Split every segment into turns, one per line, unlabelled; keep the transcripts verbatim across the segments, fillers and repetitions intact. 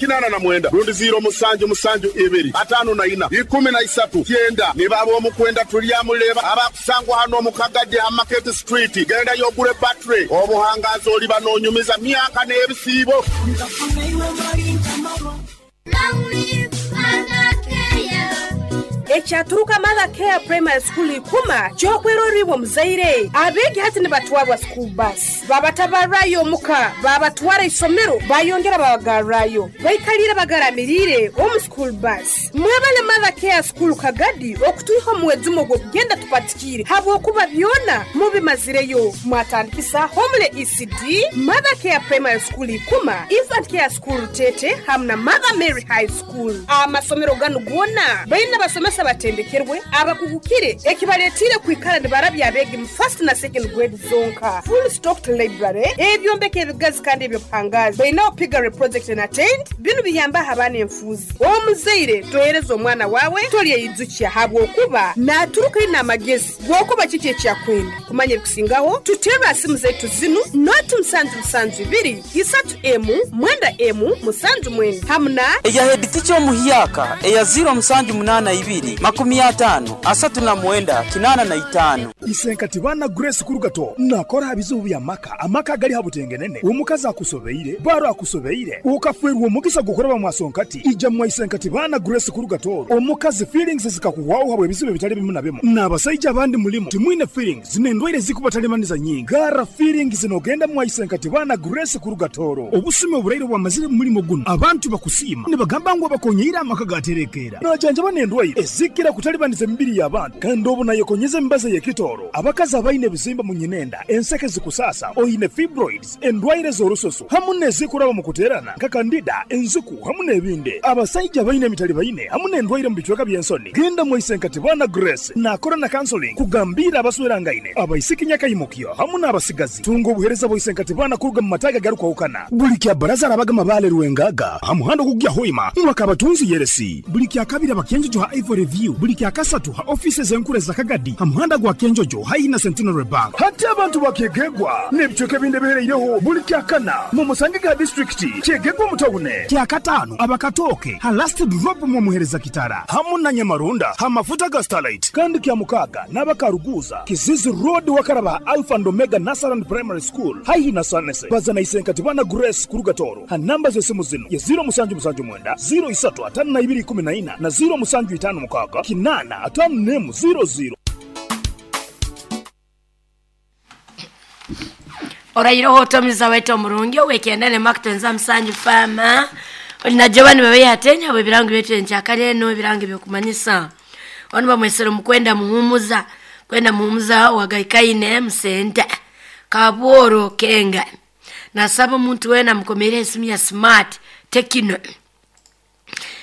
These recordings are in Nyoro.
Kinana na mwenda rundi ziro musanju musanju ibiri atano na ina ikumi na isatu kyenda nibaba omukwenda tulyamuleba abakusangwa hano mukagadi ha Market Street genda yogure battery obuhangazi oliba nonyumiza myaka n'ebisiibo.
Ekyaturuka Mother Care Primary School ikuma kyokweroribwa muzaire abegi hati nibatwarwa school bus babatabarayo muka babatwara isomero bayongera babagarrayo baikalira bagaramirire omu school bus. Mwebale Mother Care School Kagadi okutuiho muwezumo gwokugenda tupatikire habwokuba byona mubimazireyo. Mwatandikisa Homele E C D, Mother Care Primary School ikuma, Infant Care School Tete hamna Mother Mary High School. Amasomero ganu gona baina basomesa batendekerwe abakugukire ekibaletire kwikara nibarabya abegi mu first na second grade zonka. Full stocked library ebyombeke ebigazi kandi ebyopangazi baina piggery project and attend binu biyamba habana enfuzi. Omuzaire tohereza omwana wawe tolye yizukia habwokuba naturuka ina amagezi gwokuba kiki ekyakwenda kumanya ebikusingaho tutera simu zetu zinu noti musanju musanju ibiri isatu emu mwenda emu musanju mwenda hamna
eya head teacher omuhiyaka eya zero musanju munana ibiri makumi atano asatu na mwenda kinana na itano.
Isenkati bana Grace Kurugato nakora bizubu bya maka amaka gali habutengenene omukazi akusobeire baro akusobeire ukafwerwa omugisa gukoraba mwasonkati ija mwa Isenkati bana Grace Kurugato omukazi feelings zikakuwawo habwe bizubu bitali bimu na bimu n'abasajja abandi mulimu timwine feelings zinendwaire zikubatalemaniza nyingi gara feelings zinogenda mwa Isenkati bana Grace Kurugatoro obusime oburaire bwamazire mulimo guno abantu bakusima nibagamba ngo bakonyeira amaka gaterekera najanja banendwaire ezikira kutalibaniza emibiri y'abantu kandi obu nayekonyeza embaza y'ekitoro abakazi abaine ebizimba mu nyinenda enseke zikusasa oine fibroids endwaire z'orusoso hamu n'ezikuraba mu kuterana nka kandida enzuku hamu n'ebindi abasajja baine emitali baine hamu n'endwaire mu bicweka by'ensoni genda mu Isenkati bana Grace nakora na counseling kugambira abaswerangaine abaisiki nyakayimukyo hamu n'abasigazi tunga obuhereza bwa Isenkati bana kuruga mu mataga garukwahukana buli kya baraza arabaga mabale ruwengaga hamuhando kugya hoima mwakabatunzi yeresi buli kya kabiri abakenjojo ha Ivory View buli kya kasatu ha offices enkure za Kagadi hamuhanda gwa Kenjojo haina Centenary Bank hati abantu bakegegwa n'ebicweka ebindi bihereireho buli kya kana mu Musangiga district kyegegwa mutawune kya katano abakatoke ha last drop mu muhereza kitara hamu na Nyamarunda ha mafuta ga Starlight kandi kya mukaga n'abakaruguza Kizizi Road wakaraba Alpha and Omega Nasaran Primary School haihi na Sanese bazana Isenkati bana Grace Kurugatoro ha namba z'esimu zino ya zero musanju musanju mwenda zero isatu atano na ibiri kumi na ina na zero musanju itano mukaga kinana atano nemu zero zero.
Orairo hotomiza wetu omurungi owekendane makutenza musanju fama na Giovanni bebe yatenya bwe birango byetu enkyakale no birango byokumanyisa ono bamwesero mukwenda muhumuza kwenda muhumuza wagaikaine musenta kabworo kenga nasaba omuntu wena mukomere esimu ya smart tekino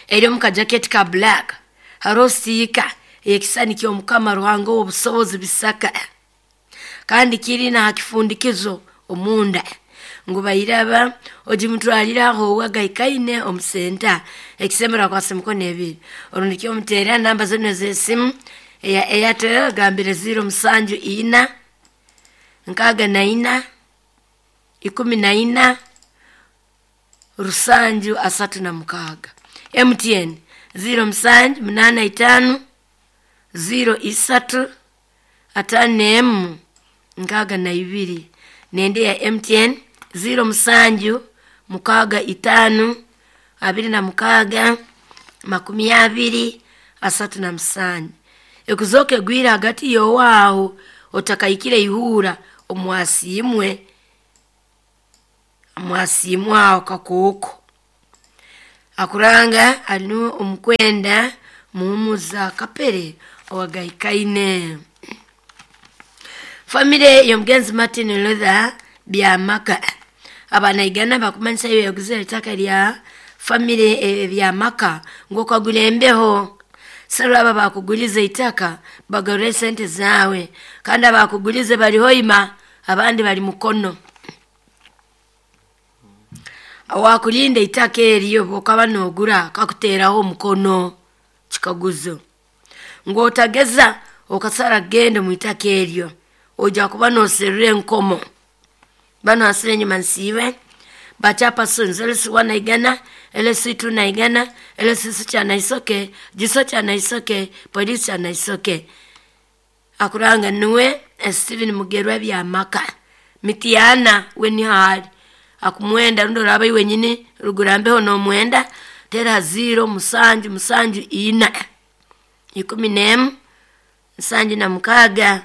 eri omu kajaketi ka black harosika ekisani ky'omukama Ruhanga obusobozi bisaka kandi kiri na hakifundikizo omunda ngu bayiraba ogimutwaliraho wagaikaine omusenta ekisemera kwase mukono ebiri orundi omuteera namba zino z'esimu eya Airtel gambire ziro musanju ina nkaga na ina ikumi na ina rusanju asatu na mukaga. M T N ziro musanju munana itano ziro isatu atano emu nkaga na ibiri nende ya M T N ziro musanju mukaga itano abiri na mukaga makumi abiri asatu na musanju ekuzoke gwira hagati yowaho otakaikire ihura omwasimwe omwasimwe aho kakoko akuranga anu omukwenda muhumuza kapere owagaikaine. Famile y'omugenzi Martin Luther Byamaka abanaigana bakumanyisa iyo yaguze itaka lya famile e, Byamaka ngokagula embeho sero aba bakugulize itaka bagarure sente zawe kandi abakugulize bali hoima abandi bali mukono awakulinda itaka eriyo bokaba nogura kakuteraho omukono kikaguzo ngotageza okasara gende mu itaka eryo oja kuba noserure enkomo bano asire nyuma nsibe Bachapersons L C one Naigana, L C two Naigana, L C six Chanaisoke, Jiso Chanaisoke, Police Chanaisoke. Akuranga nuwe Steven Mugerwa bya maka. Mitiana weni hali. Akumwenda rundo raba iwe nyini rugurambeho no mwenda tera zero musanju musanju ina ikumi nemu nsanju na mukaga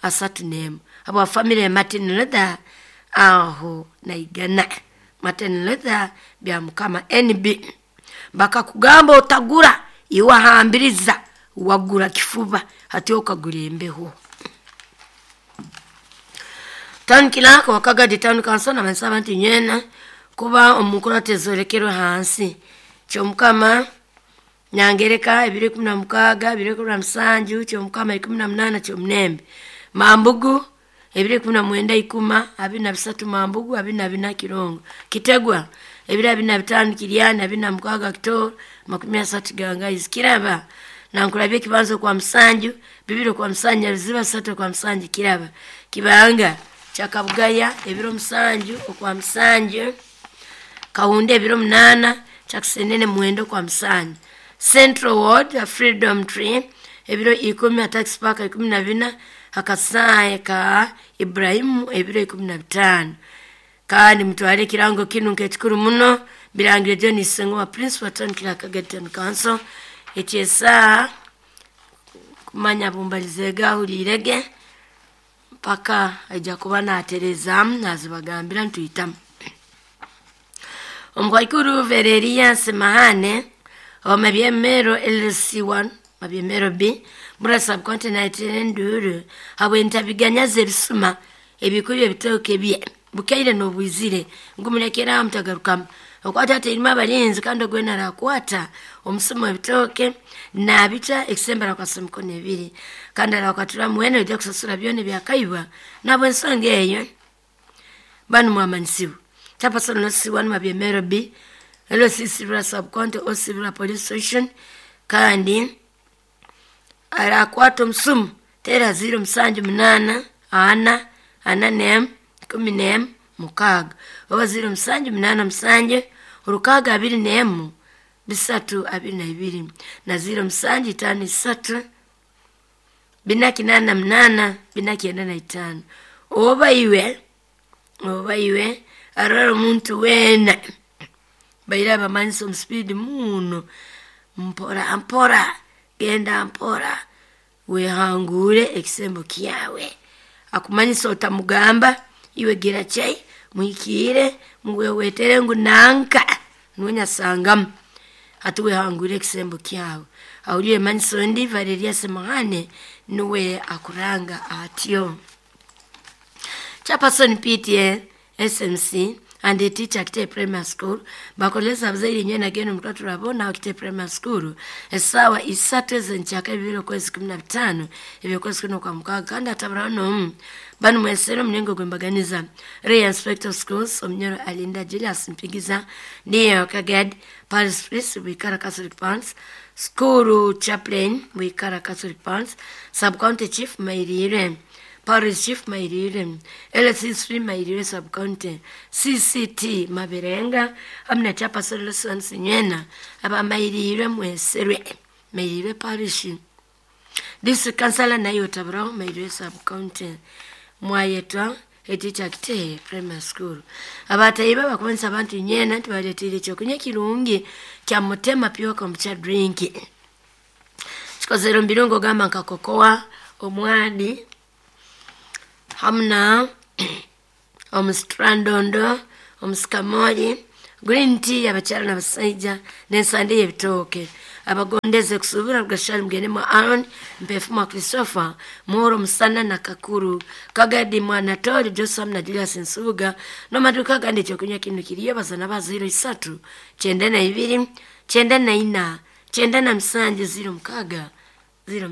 asatu nemu abo family Martin Luther aho Naigana Martin Luther bya mukama N B bakakugamba otagura iwahambiriza wagura kifuba hati okagura embeho. Town Clerk wa Kagadi Town Council na bansaba nti nyena kuba omukuru tezorekerwe hansi kyomukama Nyangereka ebiri kumi na mukaga ebiri kumi na musanju kyomukama ikumi na munana kyomunembe Mambugu ebiri kumi na mwenda ikuma abiri na bisatu Mambugu abiri na bina Kirongo Kitegwa ebiri abiri na bitano Kiryana abiri na mukaga Kitoro makumi asatu Gangaizi Kiraba nankulabye kibanzo kwa musanju bibiri kwa musanju Ruziba satu kwa musanju Kiraba Kibanga Chakabugaya ebiro musanju okwa musanju Kahunde ebiro munana Chakusenene mwendo kwa musanju Central Ward Freedom Tree ebiro ikumi Tax Park ikumi na bina Hakasaye ka Ibrahimu ebiro ikumi na bitano. Kandi mutware kirango kinu nkekikuru muno birangire John Sengo wa Prince wa Town Clerk Kagadi Town Council ekyesa kumanya bumbalize gahulirege paka aija kuba naterezamu nazibagambira ntuyitamu. Omukwaikuru Vereria Semahane wa Mabyemero L C one Mabyemero B mura subcontinent nduru habwe ntabiganya zebisuma ebikuru ebitoke bye bukaire nobwizire ngumulekera mutagarukamu okwata terima abalinzi kandi ogwena rakwata omusuma ebitoke nabita ekisembera kwa semikono ebiri kandi arakwatura mwene ojja kusasula byone byakaibwa nabo ensonga eyo banu mwamanyisibu Chapaso no C one Mabyemero B L C Sibira subcounty o Sibira police station kandi arakwata omusumu tera zero musanju munana ana ana nem kumi nem mukaga oba zero musanju munana musanju urukaga abiri nemu bisatu abiri na ibiri na zero musanju itano isatu bina kinana munana bina kienda na itano oba iwe oba iwe arara omuntu wena baira abamanyisa omu speed muno mpora mpora genda mpora wehangure ekisembo kyawe akumanyisa otamugamba iwe gira chai muhikire muwewetere ngu nanka nuwe hati wehangure ekisembo kyawe awuliwe manyiso ndi Valeria Semahane nuwe akuranga atyo. Chapason P T A S M C and the teacher Kite Primary School bakoleza abazaire nyena geno mutatu rabona Kite Primary School esawa isatu ezenchaka ebiro kwezi kumi na bitano ebyo kwezi kuno kwa mukaga kandi atabara no banu mwesero mnengo gwembaganiza Ray Inspector of Schools omnyoro Alinda Julius Mpigiza ndiyo Kagad Paris Priest Wikara Catholic Pants School Chaplain Wikara Catholic Pants Sub County Chief Mairire Parish Chief Mairire, L C three Mairire Sub-County, C C T Mabirenga, amna chapa solution sinyena, aba Mairire mweserwe, Mairire Parish. District Councilor nayo tabrao Mairire Sub-County, mwayetwa eticha Kite Primary School. Abatayiba bakubanisa abantu nyena nti baletire kyokunywa kirungi kya mutema pure kombucha drink. Kikozero mbirungo gamba nka kokoa, omwani, hamna omusitrandondo, omusikamoli, green tea abakyala n'abasajja n'ensande y'ebitooke. Abagondeze kusubira rugashali mugende mwa Aaron Mpefu mwa Christopher Muhoro Musana na Kakuru Kagadi mwa Natori Joseph na Julius Nsubuga n'amaduka gandi ekyokunywa kino kiriyo bazana ba zero isatu kyenda na ibiri kyenda na ina kyenda na musanju zero mukaga zero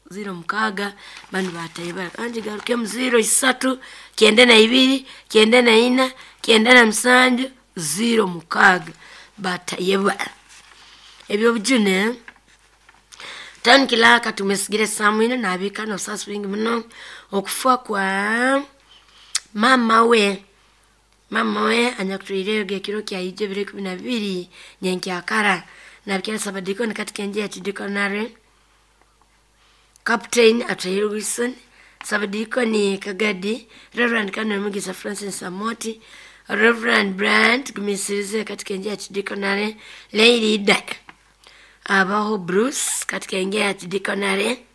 zero mukaga banu batayibara kandi garuke mu zero isatu kyenda na ibiri kyenda na ina kyenda na musanju zero mukaga batayibara. Ebyo bujune Town Clerk tumesigire Samuel na abika no sasa wingi muno okufa kwa mama we Mama we anyakutwireyo gekiro kya ijo ebiro ikumi na bibiri nyenkyakara. Nabikira sabadikoni katika enje ya chidikonare. Captain Atahir Wilson, Sabadikoni Kagadi, Reverend Canon Mugisa Francis Samoti, Reverend Brand Gumisirize katika enje ya chidikonare, Lady Ida Abaho Bruce katika enje ya chidikonare.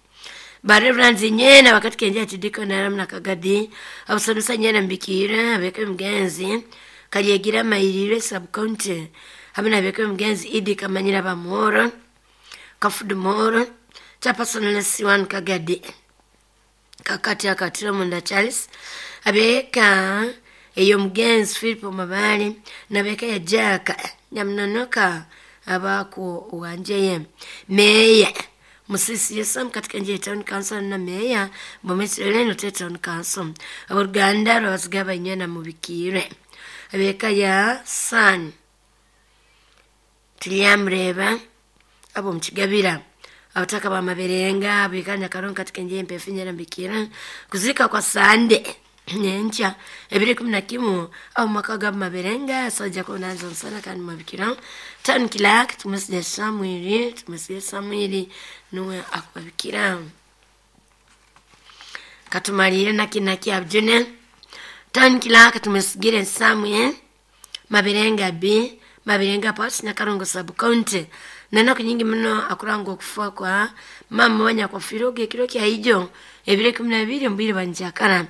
Ba Reverend nyena wakati enje ya chidikonare mna Kagadi, abusadusa nyena mbikira abeke mgenzi kalyegira mairire sub county hamwe nabeke mgenzi Idi Kamanyira Bamuhoro Kafudu Muhoro chapersonal C one Kagadi kakati akatira munda Charles, abeka eyo mugenzi Philip Mabali nabeka ya Jaka Nyamnonoka abako wanjeye meya Musisi Yesam katika nje ya town council na meya Bomesileno te town council, aboluganda lwabazigaba inyana mubikire abeka ya San Tulyamureba abo mukigabira, abataka bamaberenga abikanya karonka katika nje empefu nyera mbikira kuzika kwa sande nyenkya ebiri kumi na kimu au maka ga maberenga sajja kunanza nsana kandi mabikira. Town clerk tumusije Samwiri, tumusije Samwiri nuwe akubabikira. Katumalire nakinaki abjune. Town clerk tumusigire Samwe Maberenga B Maberenga Port Nyakarongo sub county. Nanaku nyingi muno akurangwa okufa kwa mama wanyakwafiire ekiro kya ijo ebiro ikumi na bibiri omubwire bwa nkyakara.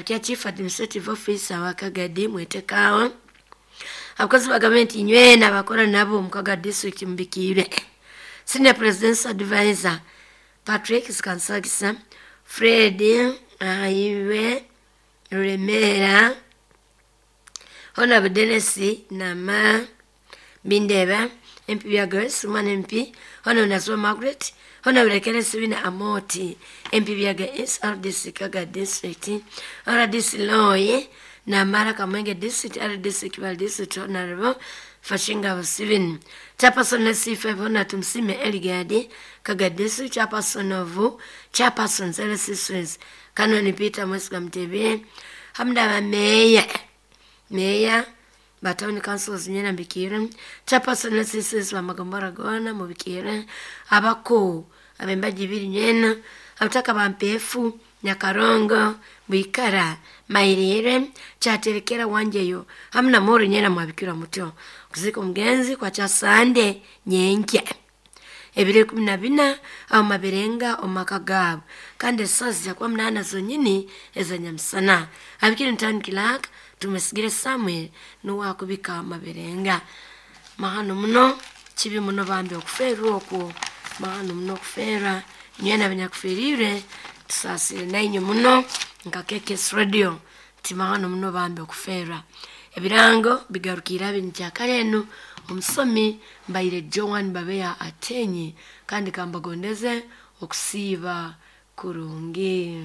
Kya chief administrative officer wa Kagadi mwetekawo, abakozi ba gavumenti nywena abakora nabo omu Kagadi district mubikiire, senior president's advisor Patrick Sikansagisa, Fred Ayiwe Ruremera, Honorable Dennis Nama Bindeba, M P bya Grace Umwana M P, Honorable Nazwa Margaret, Honorable Kenneth Wina Amoti, M P bya S R D C Kaga district, R D C Loye Namara Kamwenge district, R D C Kibale district, Honorable Fashinga Steven, Chairperson C five Honorable Tumsime Eligadi Kaga district, Chairperson of Chairperson Services Kanoni Peter Mwesiga Mtebe, hamda meya meya ba town councils nyena mbikira, chairperson C six bamagombora gona mubikira, abako abembaji ibiri nyena, abataka ba Mpefu, Nyakarongo, Bwikara, Mairire, Kyaterekera, Wanjeyo hamwe na Moro nyena mwabikira muto. Kuzika omugenzi kwa kya sande nyenkya ebiro ikumi na bina aho maberenga omu maka gaabo kandi esaawa zijakuba munaana zonyini ezanyamusana. Abikire town clerk Tumusigire Samuel nuwe akubika Maberenga. Mahano muno, kibi muno bambi okufeerwa okwo, mahano muno okufeerwa nywena abanyakufiiriire tusaasire nainywe muno nka K K S Radio nti mahano muno bambi okufeerwa. Ebirango bigarukire ab'enkyakara enu. Omusomi mbaire Joan Babeya Atenyi kandi kambagondeze okusiiba kurungi.